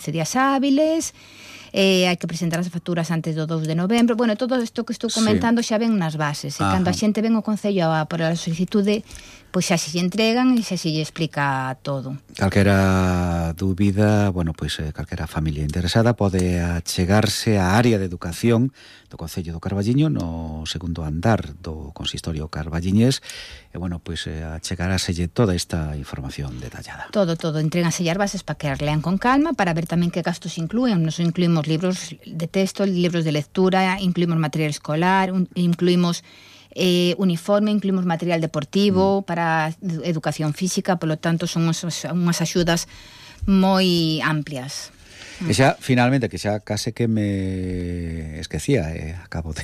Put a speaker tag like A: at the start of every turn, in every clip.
A: días hábiles, hai que presentar as facturas antes do 2 de novembro. Bueno, todo isto que estou comentando xa ven nas bases. E cando a xente ven ao Concello por a solicitude, pois xa se lle entregan e xa se lle explica todo.
B: Calquera dúbida, bueno, pois calquera familia interesada pode achegarse á área de educación do Concello do Carballiño no segundo andar do Consistorio carballiñés e, bueno, pois achegaráselle toda esta información detallada.
A: Todo, entréganselle as bases para que as lean con calma, para ver tamén que gastos inclúen. Nos incluímos libros de texto, libros de lectura, incluímos material escolar, incluímos uniforme, incluímos material deportivo para educación física, polo tanto son unhas axudas moi amplias.
B: E xa, finalmente, que xa case que me esquecía, acabo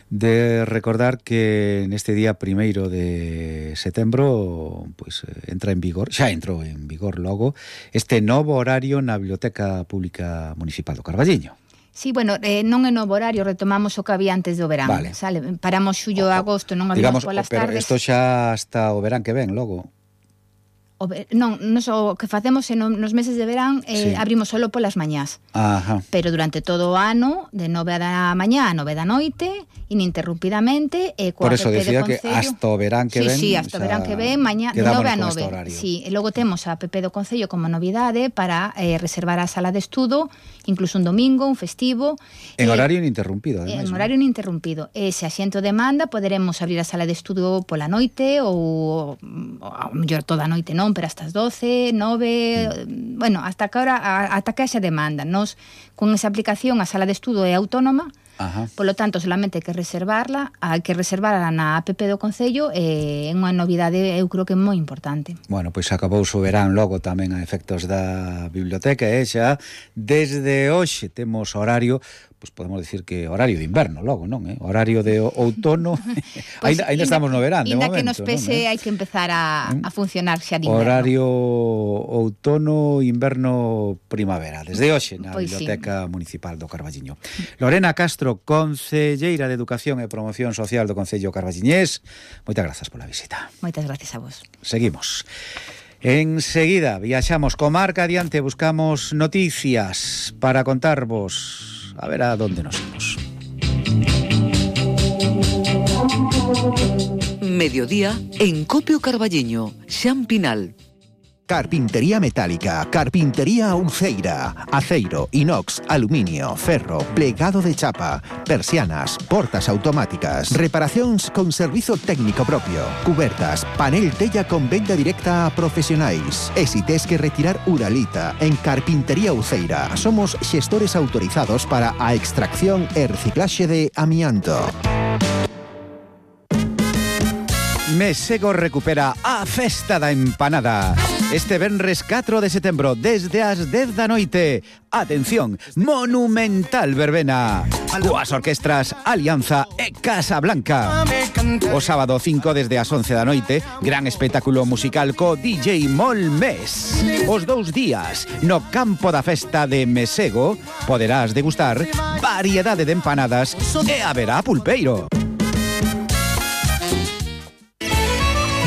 B: de recordar que neste día 1º de setembro pois entra en vigor, xa entrou en vigor logo, este novo horario na Biblioteca Pública Municipal do Carballiño.
A: Sí, bueno, non é novo horario, retomamos o que había antes do verán.
B: Vale.
A: Sale, paramos xullo e agosto, non habíamos polas
B: pero
A: tardes.
B: Pero isto xa hasta o verán que ven, logo.
A: Non, o que facemos nos meses de verán abrimos solo polas mañás.
B: Ajá.
A: Pero durante todo o ano, de 9 da mañá a 9 da noite, ininterrumpidamente,
B: por eso decía que hasta o verán que ven.
A: Sí, hasta o verán que ven, mañá de 9 a 9. Sí, e logo temos a app do Concello como novidade para reservar a sala de estudo, incluso un domingo, un festivo.
B: En horario ininterrumpido, ademais.
A: En horario ininterrumpido. E se a xente o demanda, poderemos abrir a sala de estudo pola noite ou a mellor toda a noite non, pero hasta as 12, 9, bueno, hasta que haxa demanda. Nos, con esa aplicación, a sala de estudo é autónoma.
B: Ajá.
A: Polo tanto, solamente hai que reservarla, na app do Concello, é unha novidade, eu creo que é moi importante.
B: Bueno, pois acabouse o verán logo tamén a efectos da biblioteca, xa desde hoxe temos horario, pois podemos decir que horario de inverno logo, non? Horario de outono, pues, ainda estamos no verán, de momento.
A: Ainda que nos pese, hai que empezar a funcionar xa de inverno.
B: Horario outono, inverno, primavera, desde hoxe na Biblioteca Municipal do Carballiño. Lorena Castro, concelleira de Educación e Promoción Social do Concello carballiñés, moitas grazas pola visita.
A: Moitas gracias a vos.
B: Seguimos. Enseguida viaxamos comarca adiante, buscamos noticias para contarvos. A ver a dónde nos vamos.
C: Mediodía en Copio Carballiño, Xan Pinal.
D: Carpintería metálica, carpintería Uceira, aceiro, inox, aluminio, ferro, plegado de chapa, persianas, portas automáticas, reparacións con servizo técnico propio, cubertas, panel tella con venda directa a profesionais. E si tes que retirar uralita, en Carpintería Uceira somos xestores autorizados para a extracción e reciclaxe de amianto.
B: Mesego recupera a Festa da Empanada. Este venres 4 de setembro, desde as 10 da noite. Atención, monumental verbena. Coas orquestras Alianza e Casa Blanca. O sábado 5 desde as 11 da noite, gran espectáculo musical co DJ Molmes. Os 2 días, no campo da festa de Mesego, poderás degustar variedade de empanadas e haberá pulpeiro.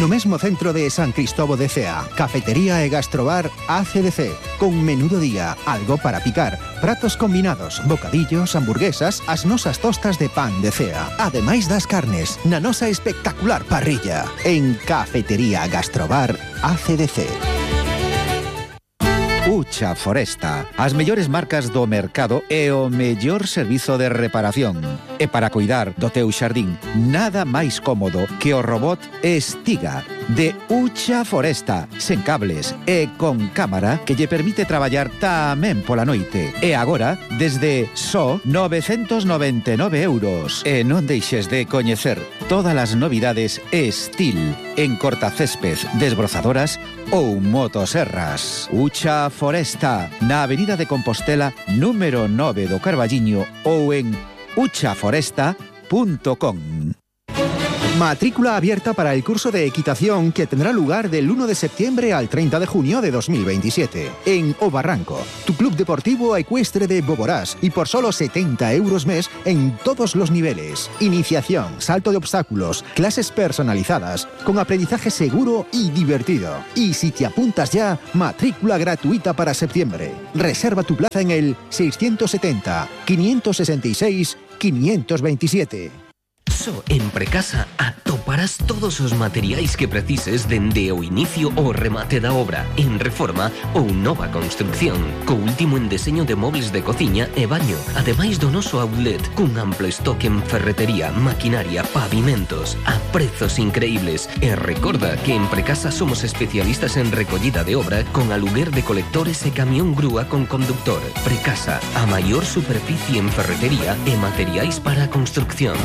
D: No mesmo centro de San Cristóbal de Cea, cafetería e gastrobar ACDC, con menú do día, algo para picar, pratos combinados, bocadillos, hamburguesas, as nosas tostas de pan de Cea, ademais das carnes, na nosa espectacular parrilla, en Cafetería Gastrobar ACDC.
B: Ucha Foresta, as mellores marcas do mercado e o mellor servizo de reparación. E para cuidar do teu xardín, nada máis cómodo que o robot Estiga de Ucha Foresta, sen cables e con cámara que lle permite traballar tamén pola noite. E agora, desde só 999 €. E non deixes de coñecer todas as novidades Estil en cortacésped, desbrozadoras ou motoserras. Ucha Foresta, na Avenida de Compostela, número 9 do Carballiño ou en uchaforesta.com.
D: Matrícula abierta para el curso de equitación que tendrá lugar del 1 de septiembre al 30 de junio de 2027 en O Barranco, tu club deportivo ecuestre de Boborás, y por solo 70 euros mes en todos los niveles. Iniciación, salto de obstáculos, clases personalizadas, con aprendizaje seguro y divertido. Y si te apuntas ya, matrícula gratuita para septiembre. Reserva tu plaza en el 670 566 527.
E: Só en Precasa atoparás todos os materiais que precises dende o inicio ao remate da obra, en reforma ou nova construcción, co último en deseño de móveis de cociña e baño, ademais do noso outlet, cun amplo estoque en ferretería, maquinaria, pavimentos, a prezos increíbles. E recorda que en Precasa somos especialistas en recollida de obra con aluguer de colectores e camión grúa con conductor. Precasa, a maior superficie en ferretería e materiais para a construcción.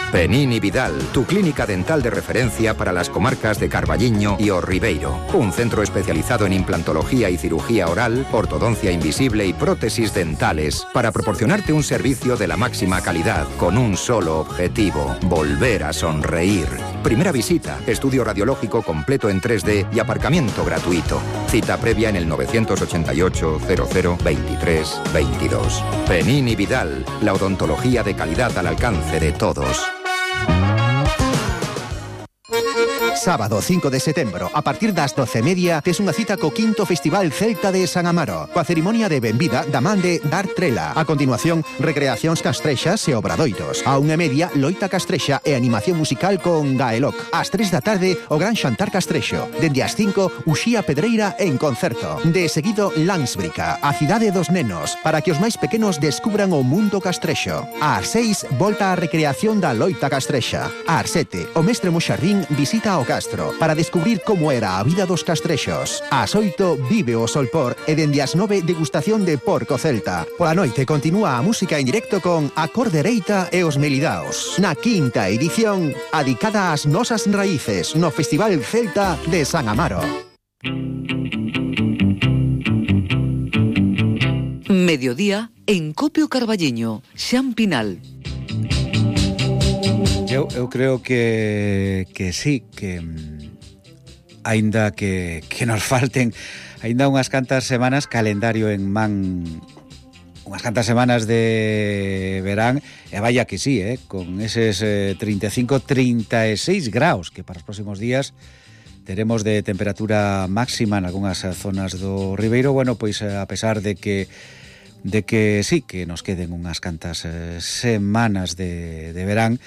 F: Penini Vidal, tu clínica dental de referencia para las comarcas de Carballiño y O Ribeiro. Un centro especializado en implantología y cirugía oral, ortodoncia invisible y prótesis dentales para proporcionarte un servicio de la máxima calidad con un solo objetivo: volver a sonreír. Primera visita, estudio radiológico completo en 3D y aparcamiento gratuito. Cita previa en el 988 00 23 22. Penini Vidal, la odontología de calidad al alcance de todos.
D: Sábado 5 de setembro, a partir das 12:30, tes unha cita co 5º Festival Celta de San Amaro, coa cerimonia de benvida da man de Dar Trela. A continuación, recreacións castrexas e obradoiros. A 1:30, loita castrexa e animación musical con Gaeloc. Ás 3 da tarde, o gran xantar castrexo. Dende as 5, Uxía Pedreira en concerto. De seguido, Landsbrica, a cidade dos nenos, para que os máis pequenos descubran o mundo castrexo. Ás 6, volta a recreación da loita castrexa. Ás 7, o mestre Moxardín visita o Castro para descubrir como era a vida dos castrexos. Ás 8, vive o Solpor e dende as 9, degustación de porco celta. Pola noite continúa a música en directo con A Cordereita e os Melidaos, na 5ª edición adicada ás nosas raíces no Festival Celta de San Amaro.
C: Mediodía en Copio Carballiño, Xan Pinal.
B: Eu creo que sí, que aínda que nos falten aínda unhas cantas semanas calendario en man, unhas cantas semanas de verán, e vaya que sí, con eses 35-36 graus que para os próximos días teremos de temperatura máxima en algunhas zonas do Ribeiro. Bueno, pois a pesar de que sí, que nos queden unhas cantas semanas de verán,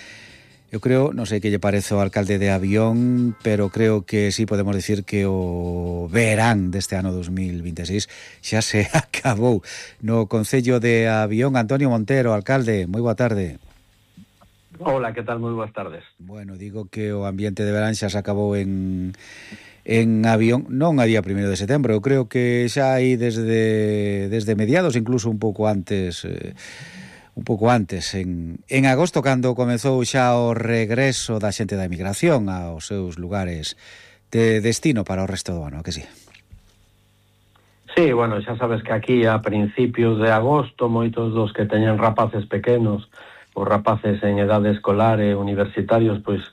B: eu creo, non sei que lle parece o alcalde de Avión, pero creo que sí podemos decir que o verán deste ano 2026 xa se acabou. No Concello de Avión, Antonio Montero, alcalde, moi boa tarde.
G: Hola, que tal? Moi boas tardes.
B: Bueno, digo que o ambiente de verán xa se acabou en Avión, non a día 1 de setembro, eu creo que xa hai desde mediados, incluso un pouco antes, en agosto, cando comezou xa o regreso da xente da emigración aos seus lugares de destino para o resto do ano, que sí?
G: Sí, bueno, xa sabes que aquí a principios de agosto moitos dos que teñen rapaces pequenos, os rapaces en edade escolar e universitarios, pois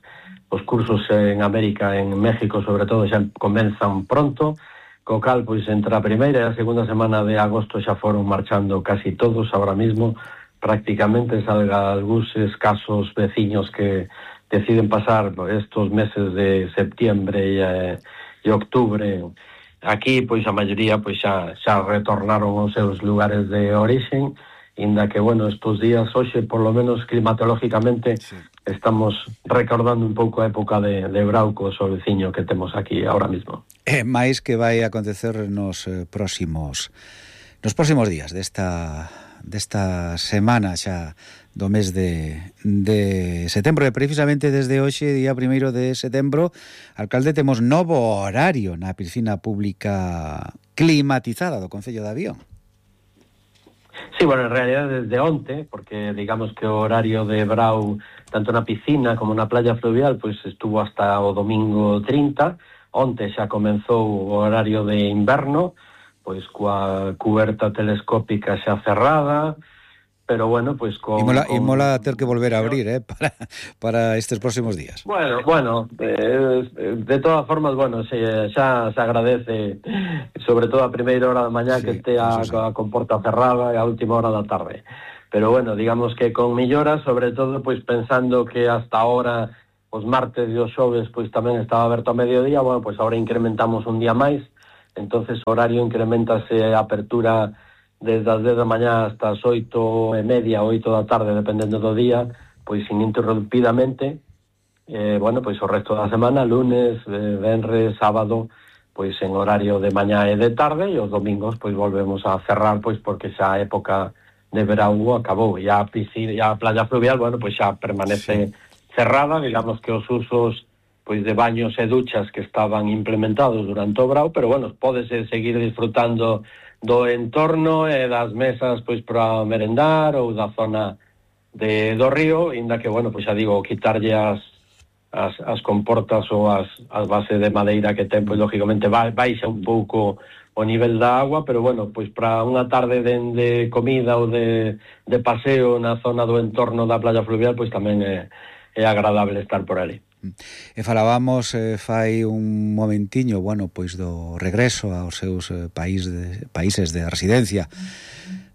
G: os cursos en América, en México sobre todo, xa comenzan pronto, co cal, pois entre a primeira e a segunda semana de agosto xa foron marchando casi todos. Ahora mismo prácticamente salga algúns escasos veciños que deciden pasar estos meses de septiembre e octubre aquí, pois a maioría pois xa retornaron aos seus lugares de orixen, inda que, bueno, estos días hoxe, por lo menos climatológicamente, sí, estamos recordando un pouco a época de brauco o veciño que temos aquí ahora mismo.
B: Mais que vai acontecer nos próximos días desta semana xa do mes de setembro, e precisamente desde hoxe, día 1 de setembro, alcalde, temos novo horario na piscina pública climatizada do Concello de Avión.
G: Sí, bueno, en realidad desde onte, porque digamos que o horario de brau tanto na piscina como na playa fluvial pois estuvo hasta o domingo 30. Onte xa comenzou o horario de inverno, pois coa cuberta telescópica xa cerrada, pero bueno, pues
H: mola ter que volver a abrir, para estes próximos días.
G: Bueno, de todas formas, bueno, xa se agradece, sobre todo a primeira hora da mañá, que este a comporta cerrada e a última hora da tarde. Pero bueno, digamos que con melloras, sobre todo, pois pensando que hasta ahora os martes e os xoves pois tamén estaba aberto a mediodía, bueno, pois agora incrementamos un día máis, entonces o horario incrementase a apertura desde as 10 da mañá hasta as 8:30, 8 da tarde, dependendo do día, pois ininterrumpidamente, bueno, pois o resto da semana, lunes, venres, sábado, pois en horario de mañá e de tarde, e os domingos pois volvemos a cerrar, pois porque xa a época de verão acabou, e a piscina, a playa fluvial, bueno, pois xa permanece cerrada, digamos que os usos pois de baños e duchas que estaban implementados durante o verão, pero bueno, pódese seguir disfrutando do entorno e das mesas pois para merendar ou da zona do río, inda que, bueno, pois xa digo, quitarlle as comportas ou as bases de madeira que ten, pois lógicamente baixa un pouco o nivel da agua, pero bueno, pois para unha tarde de comida ou de paseo na zona do entorno da playa fluvial, pois tamén é agradable estar por ali.
H: E falábamos fai un momentiño, bueno, pois do regreso aos seus países de residencia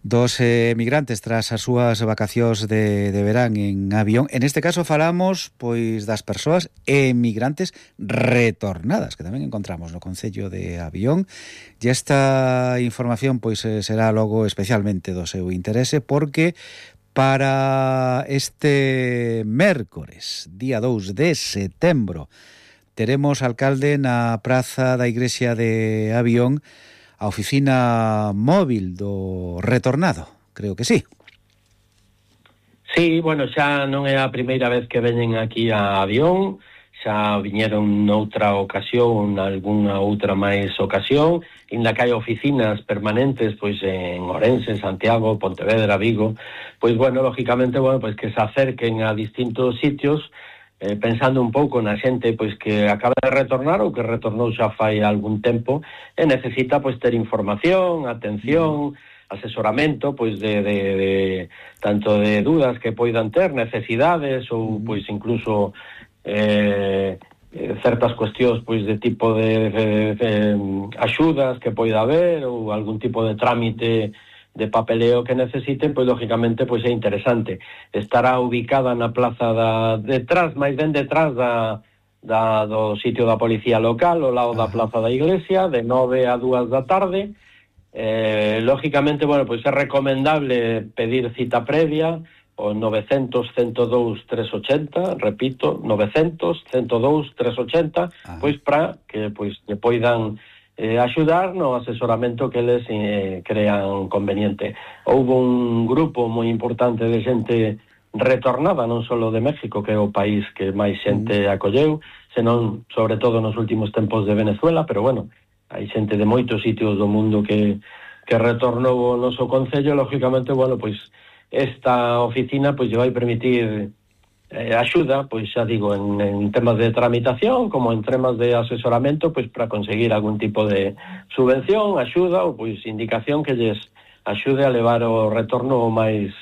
H: dos emigrantes tras as súas vacacións de verán en avión. En este caso falamos pois das persoas emigrantes retornadas, que tamén encontramos no concello de Avión, e esta información pois será logo especialmente do seu interese, porque para este mércores, día 2 de setembro, teremos alcalde na praza da Igrexa de Avión a oficina móvil do retornado, creo que sí.
G: Sí, bueno, xa non é a primeira vez que veñen aquí a Avión, xa viñeron noutra ocasión, algunha outra máis ocasión, inda que hai oficinas permanentes pois en Ourense, Santiago, Pontevedra, Vigo, pois bueno, lógicamente, bueno, pois que se acerquen a distintos sitios, pensando un pouco na xente pois que acaba de retornar ou que retornou xa fai algún tempo e necesita pois ter información, atención, asesoramento pois de tanto de dudas que poidan ter, necesidades ou pois incluso certas cuestións pois de tipo de axudas que poida haber ou algún tipo de trámite de papeleo que necesiten, pois lógicamente pois é interesante. Estará ubicada na plaza detrás, máis ben detrás do sitio da policía local, ao lado da plaza da iglesia, de 9 a 2 da tarde. Lógicamente, bueno, pois é recomendable pedir cita previa, o 900-102-380, repito, 900-102-380, pois para que pois que poidan axudar no asesoramento que eles crean conveniente. Houve un grupo moi importante de xente retornada, non só de México, que é o país que máis xente acolleu, senón, sobre todo, nos últimos tempos de Venezuela, pero bueno, hai xente de moitos sitios do mundo que retornou ao noso concello. Lógicamente, bueno, pois esta oficina pois lle vai permitir axuda, pois xa digo, en temas de tramitación, como en temas de asesoramento, pois para conseguir algún tipo de subvención, axuda ou pois indicación que lles axude a levar o retorno o máis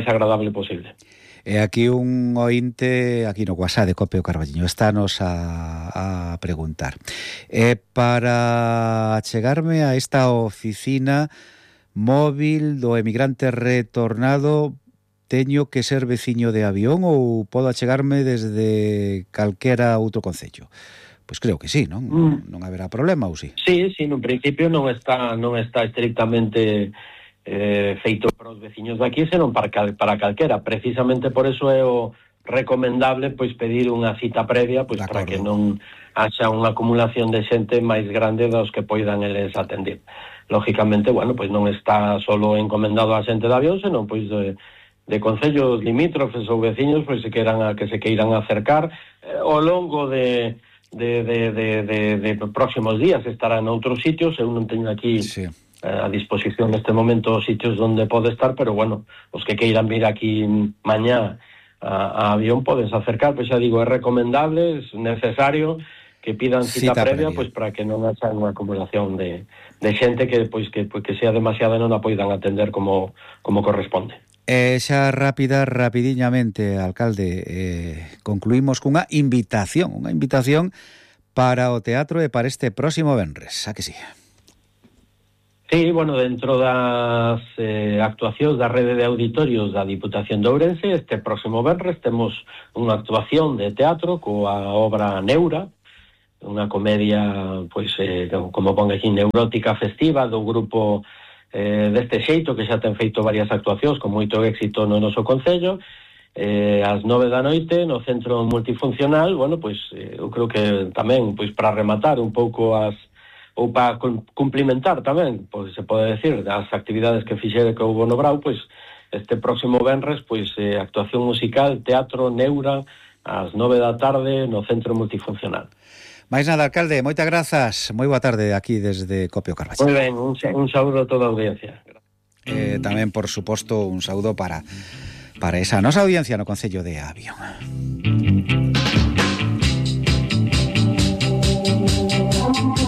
G: agradable posible.
H: E aquí un ointe, aquí no WhatsApp de Copio Carballiño, estános a preguntar. Para achegarme a esta oficina móvil do emigrante retornado, teño que ser veciño de Avión ou podo achegarme desde calquera outro concello? Pois creo que sí, non? Non haberá problema, ou sí?
G: Sí, no principio non está estrictamente feito para os veciños de aquí, senón para calquera. Precisamente por eso é o recomendable pois pedir unha cita previa, pois para que non haxa unha acumulación de xente máis grande dos que poidan eles atender. Lógicamente, bueno, pois non está solo encomendado a xente de Avión, senón pois de concellos limítrofes ou veciños pois que se queiran acercar ao longo de próximos días. Estarán noutros sitios, eu non teño aquí a disposición neste momento os sitios onde pode estar, pero bueno, os que queiran vir aquí mañá a Avión podense acercar. Pois xa digo, é recomendable, é necesario pidan cita previa, pois para que non haxa unha acumulación de xente que sea demasiada e non a poidan atender como corresponde.
H: Xa rapidiñamente, alcalde, concluímos cunha invitación para o teatro e para este próximo venres, a que sí?
G: Sí, bueno, dentro das actuacións da rede de auditorios da Diputación de Ourense, este próximo venres temos unha actuación de teatro coa obra Neura, unha comedia, pois, como pon aquí, neurótica festiva do grupo deste xeito, que xa ten feito varias actuacións con moito éxito no noso concello, ás 9 da noite no Centro Multifuncional. Bueno, pois, eu creo que tamén, pois, para rematar un pouco ou para cumplimentar tamén, pois se pode decir, as actividades que fixere que houve no Brau, pois, este próximo venres, pois, actuación musical, teatro, Neura, ás 9 da tarde no Centro Multifuncional.
H: Mais nada, alcalde, moitas grazas. Moi boa tarde aquí desde Copio Carballiño.
G: Moi ben, un saúdo a toda a audiencia.
H: Tamén, por suposto, un saúdo para esa nosa audiencia no Concello de Avión.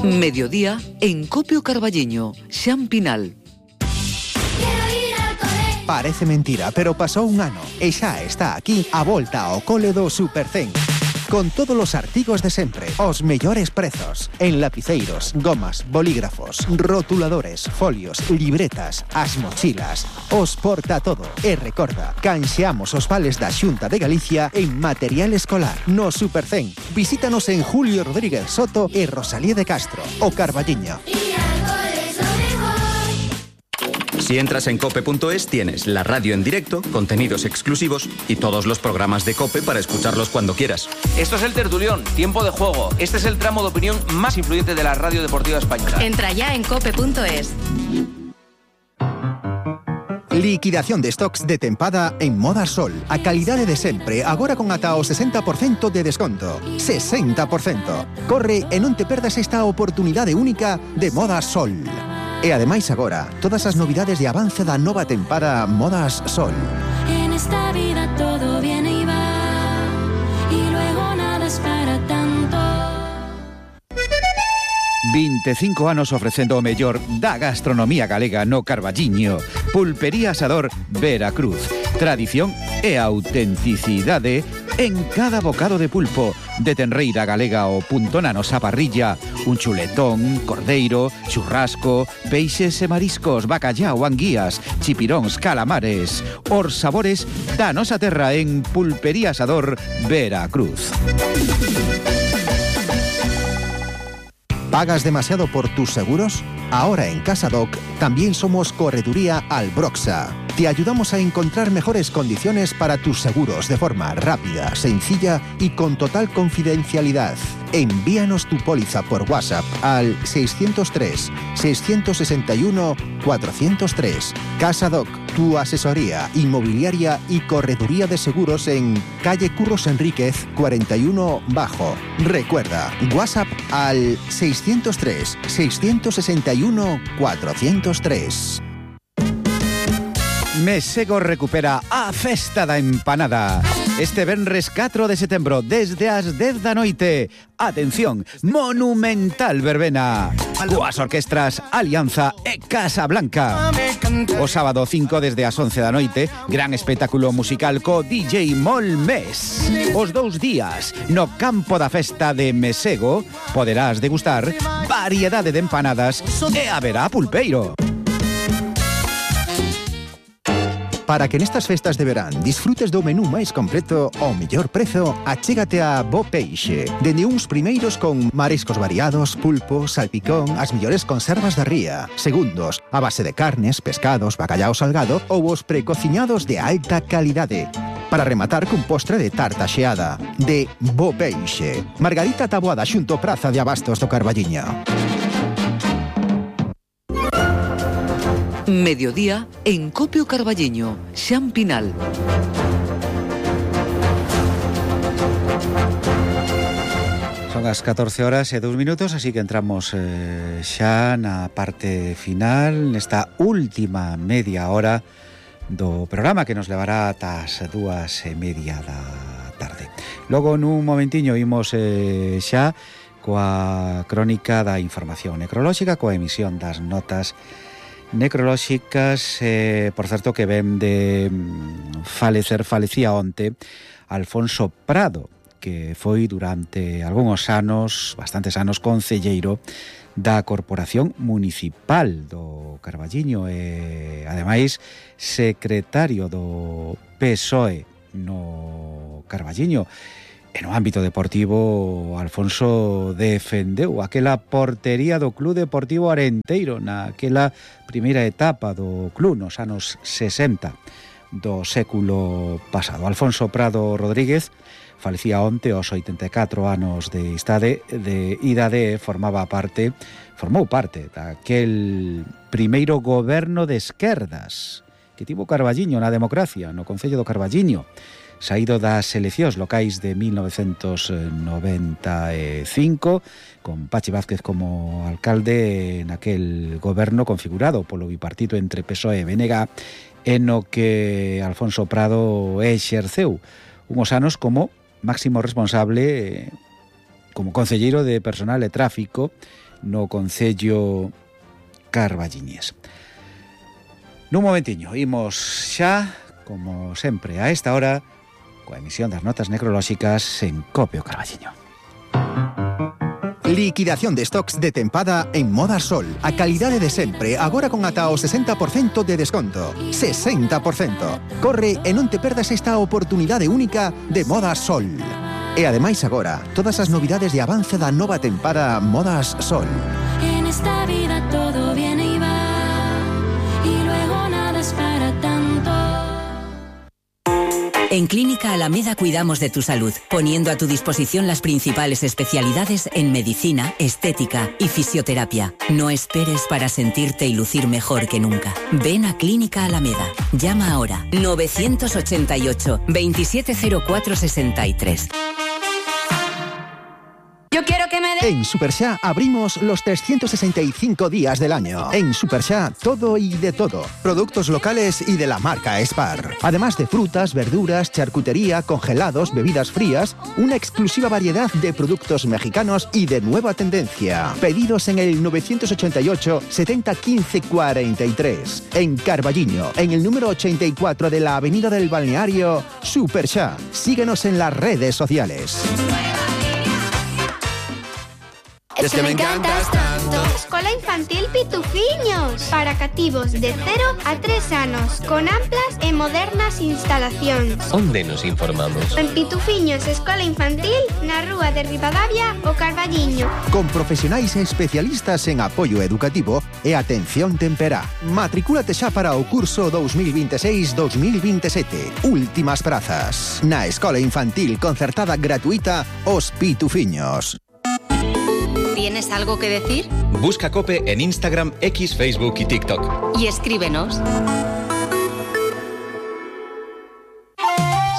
C: Mediodía en Copio Carballiño, Xan Pinal.
D: Parece mentira, pero pasou un ano e xa está aquí a volta ao cole do Supercén. Con todos os artigos de sempre, os mellores prezos, en lapiceiros, gomas, bolígrafos, rotuladores, folios, libretas, as mochilas, os porta todo. E recorda, canxeamos os vales da Xunta de Galicia en material escolar no Supercén. Visítanos en Julio Rodríguez Soto e Rosalía de Castro, o Carballiño.
I: Si entras en cope.es tienes la radio en directo, contenidos exclusivos y todos los programas de COPE para escucharlos cuando quieras.
J: Esto es el Tertulión, tiempo de juego. Este es el tramo de opinión más influyente de la radio deportiva española.
K: Entra ya en cope.es.
D: Liquidación de stocks de tempada en Moda Sol. A calidade de sempre, agora con ata o 60% de desconto. 60%. Corre e non te perdas esta oportunidade única de Moda Sol. E ademais agora, todas as novidades de avance da nova tempada Modas Sol.
L: En esta vida todo viene y va, y luego nada es para tanto.
B: 25 anos ofrecendo o mellor da gastronomía galega no Carballiño. Pulpería Asador Veracruz. Tradición e autenticidade en cada bocado de pulpo. De tenreira galega o punto na nosa parrilla. Un chuletón, cordeiro, churrasco, peixes e mariscos, bacallao, anguías, chipiróns, calamares. Os sabores da nosa terra en Pulpería Asador Veracruz.
D: ¿Pagas demasiado por tus seguros? Ahora en CasaDoc también somos Correduría Albroxa. Te ayudamos a encontrar mejores condiciones para tus seguros de forma rápida, sencilla y con total confidencialidad. Envíanos tu póliza por WhatsApp al 603-661-403. CasaDoc, tu asesoría inmobiliaria y correduría de seguros en calle Curros Enríquez 41 Bajo. Recuerda, WhatsApp al 603-661-403.
B: Mesego recupera a Festa da Empanada. Este venres 4 de setembro, desde as 10 da noite. Atención, monumental verbena. Coas orquestras Alianza e Casa Blanca. O sábado 5 desde as 11 da noite, gran espectáculo musical co DJ Molmes. Os 2 días, no campo da festa de Mesego, poderás degustar variedade de empanadas e haberá pulpeiro.
D: Para que nestas festas de verán disfrutes do menú máis completo ao mellor prezo, achégate a Bo Peixe. Dende uns primeiros con mariscos variados, pulpo, salpicón, as mellores conservas da ría. Segundos, a base de carnes, pescados, bacallao salgado ou os precociñados de alta calidade. Para rematar cun postre de tarta xeada. De Bo Peixe. Margarita Taboada xunto Praza de Abastos do Carballiño.
C: Mediodía en Copio Carballiño, Xan Pinal.
H: Son as 14 horas e 2 minutos, así que entramos xa na parte final, nesta última media hora do programa que nos levará ata as 2:30 da tarde. Logo nun momentiño imos xa coa crónica da información necrolóxica, coa emisión das notas necrolóxicas. Por certo, que ven de falecía onte Alfonso Prado, que foi durante algúns anos, bastantes anos, concelleiro da Corporación Municipal do Carballiño e, ademais, secretario do PSOE no Carballiño. E no ámbito deportivo, Alfonso defendeu aquela portería do Club Deportivo Arenteiro naquela primeira etapa do club nos anos 60 do século pasado. Alfonso Prado Rodríguez falecía onte aos 84 anos de idade, formou parte daquel primeiro goberno de esquerdas que tivo Carballiño na democracia, no Concello do Carballiño, saído das eleccións locais de 1995, con Pachi Vázquez como alcalde naquel goberno configurado polo bipartito entre PSOE e BNG, en o que Alfonso Prado exerceu unhos anos como máximo responsable, como concelleiro de personal e tráfico no Concello carballiñés. Nun momentiño, imos xa, como sempre, a esta hora, coa emisión das notas necrolóxicas en Cope o Carballiño.
D: Liquidación de stocks de tempada en Moda Sol. A calidade de sempre, agora con ata o 60% de desconto. 60%. Corre e non te perdas esta oportunidade única de Moda Sol. E ademais agora, todas as novidades de avance da nova tempada Modas Sol.
L: En esta vida todo viene y va, y luego nada es para tanto.
M: En Clínica Alameda cuidamos de tu salud, poniendo a tu disposición las principales especialidades en medicina, estética y fisioterapia. No esperes para sentirte y lucir mejor que nunca. Ven a Clínica Alameda. Llama ahora 988 270463.
L: Yo quiero que me
D: En Superxá abrimos los 365 días del año. En Superxá, todo y de todo. Productos locales y de la marca Spar. Además de frutas, verduras, charcutería, congelados, bebidas frías, una exclusiva variedad de productos mexicanos y de nueva tendencia. Pedidos en el 988 70 15 43. En Carballiño, en el número 84 de la Avenida del Balneario, Superxá. Síguenos en las redes sociales.
N: Es que me encantas tanto. Escola Infantil Pitufiños, para cativos de 0 a 3 anos, con amplas e modernas instalacións.
E: Onde nos informamos?
N: En Pitufiños Escola Infantil, na rúa de Ribadavia, o Carballiño.
D: Con profesionais e especialistas en apoio educativo e atención temperá. Matricúlate xa para o curso 2026-2027. Últimas prazas. Na Escola Infantil concertada gratuita Os Pitufiños.
K: ¿Tienes algo que decir?
I: Busca COPE en Instagram, X, Facebook y TikTok.
K: Y escríbenos.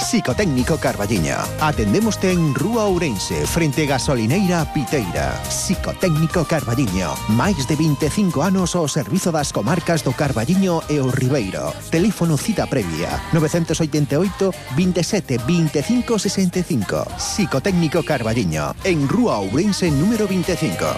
D: Psicotécnico Carballiño. Atendémoste en Rúa Ourense, frente Gasolineira Piteira. Psicotécnico Carballiño. Máis de 25 anos ao servizo das comarcas do Carballiño e o Ribeiro. Teléfono cita previa 988 27 25 65. Psicotécnico Carballiño. En Rúa Ourense número 25.